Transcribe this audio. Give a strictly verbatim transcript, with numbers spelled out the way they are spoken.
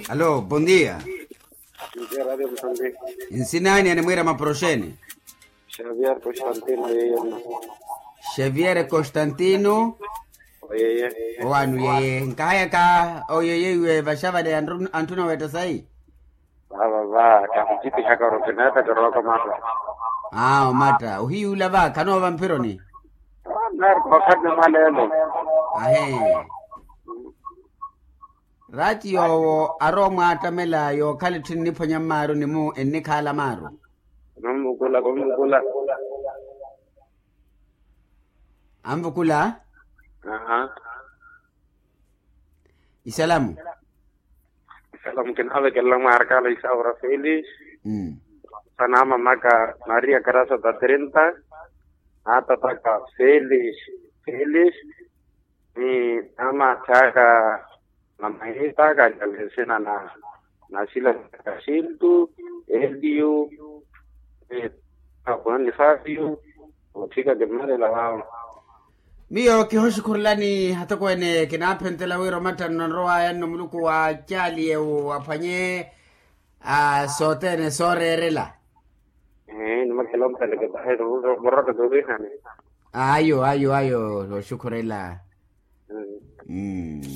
Alo, bon dia. Nsinani animwira maporoxeni? Xavier constantino yeyena. Xavier constantino. Oyeye. Owanu yeye nkahayaka oyeye iwe vaxavale antuna wetta sayi. Vava va kamucipihaka oro kineta kirowaka matta. Aa omatta ohiyuula va khanoova mphironi. Narko khani mwalelo. Ahe. Rati yoowo arowa omwaattamela yookhala etthu enniphwanya mmaaru ni mu ennikhaala maaru. Kummukula kummukula. Anvukula. Aha. Isalamu. Isalamu kinaavekelela mwaarikala isaura felis. Sana mamaka maria karasa ta trinta. Naatapaka felis felis. Ni ama thaka namahita kajalisina na nasila kasintu eliu. Apwani fabio othika kimalela vavo. Miyo kihoxukhurelani hatoko ene kinaphentela wira omattanno nrowaya nno muluku wa caali ewu aphwanye a sothene sooreerela. Nimakhela ompeleke tahe. Muraka tuvihani. Ayo ayo ayo oxukhurela. Mm.